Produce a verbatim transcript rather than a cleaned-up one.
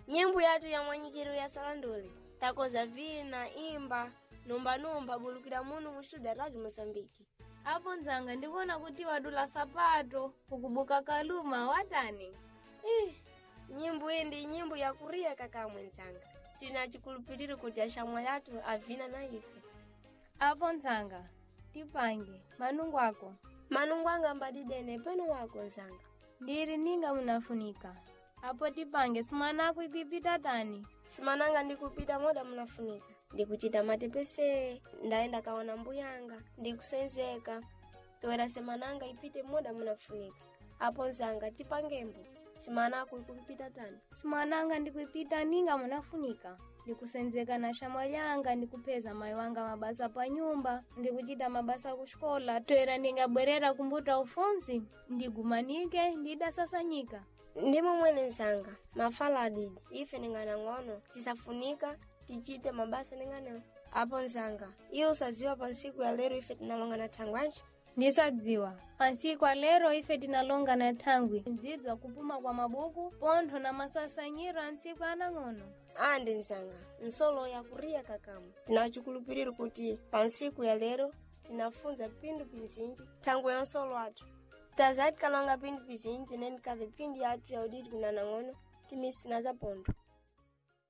Nyimbo yathu ya mwanyikiro ya salandule takoza vina imba numbanumba bulukira munu mu studio ya Radio Mozambique. Apo nzanga ndikuona kuti wadula sapato ukubuka kaluma watani. Ih, nyimbo iyi ndi nyimbo ya kuriya kaka mwenzanga. Tina chikulupiriro kuti ashamwa yathu avina na ife. Apo nzanga tipange manungu ako Manungu anga mbadidene peno wako nzanga. ndiri ninga munafunika. Apo tipange simanako ikuipita tani. Simananga ndikupita moda munafunika. Ndikuchita matepese, ndaenda kaona mbuyanga, ndikusenzeka. Toera semananga ipite moda munafunika. Apo nzanga tipangembo. Simanako ikupita tani. Simananga ndikuipita ninga munafunika. Ndikusenzeka na shamwa lyanga ndikupeza mayi wanga mabasa pa nyumba ndikuchita mabasa kuxikola toera ndingabwerera kumbuta ufunzi ndigumanike ndidasasanyika. Ndimo mwene nzanga, mafala adidi. Ife ningana ng'ono, tisafunika tichite mabasa ningana. Apo nzanga, iyo usaziwa pa nsiku ya lero ife tinalonga na thangwanji. Ndisadziwa pansiku alero ife tinalonga na thangwi ndzidzwa kupuma kwa mabuku pontho na masasanyiro a ntsiku anang'ono. Andi nzanga, nsolo yakuriya kakamu. Tinachikulupiriro kuti pa nsiku ya lero tinafunza pindu pizinji thangwi ya nsolo athu. Tazati kalonga pindu pizinji tineni kave pindi yathu ya udidi kunanang'ono timisina za pontho.